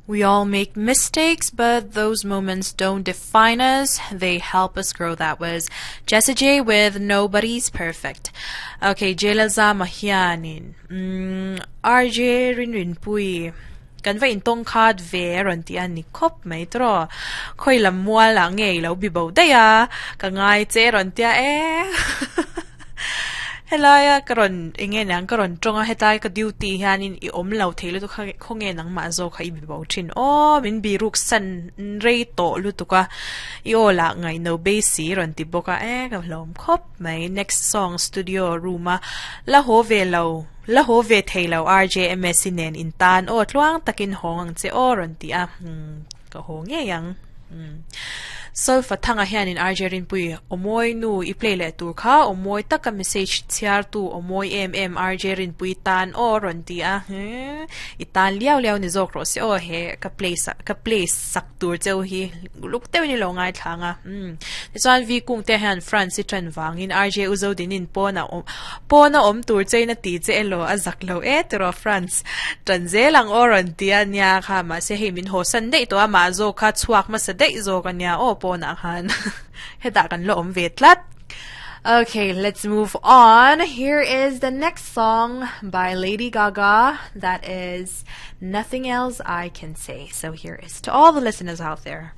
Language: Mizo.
We all make mistakes, but those moments don't define us. They help us grow. That was Jessie J with Nobody's Perfect. Okay, J Lalzama hianin mm, RJ Rinrinpuii kan va intawng khat ve a rawn ti a ni khawp mai tawh. Khawi lam mual ah nge i lo bi bo daih a, ka ngai che a rawn ti a e. Helaia ka rawn eng nge niang ka rawn tawng a hetlai ka duty hianin i awm lo thei lutuk kha khawnge nangmah zawk kha i bi bo thin aw min bi ruk san rei tawh lutuk a i aw lah ngaihno base i rawn ti bawk a e ka hlawm khawp mai next song studio room a la haw ve lo la haw ve thei lo RJMS i nen in tan aw tluang takin hawng ang che aw rawn ti a ka haw ngei ang. Solfa thanga hianin RJ Rinpui awmawi nu i play leh tur kha awmawi taka message chhiartu awmawi em em RJ Rinpui tan aw rawn ti a i tan liau liau ni zawk rawh se aw he ka play sak ka play sak tur cheu hi luk deuhin i lo ngaithla ang a tichuan V Kungte hian France i tan vangin RJ Uzodinin pawn a awm pawn a awm tur chein a ti che elaw a zak lo e tiraw France Tan zel ang aw rawn ti a nia kha mahse hei min haw san daih tawh a mah zawk kha chhuak hmasa daih zawk a nia aw pawnah khan hetah kan la awm ve tlat. Okay, let's move on. Here is the next song by Lady Gaga that is Nothing Else I Can Say. So here is to all the listeners out there.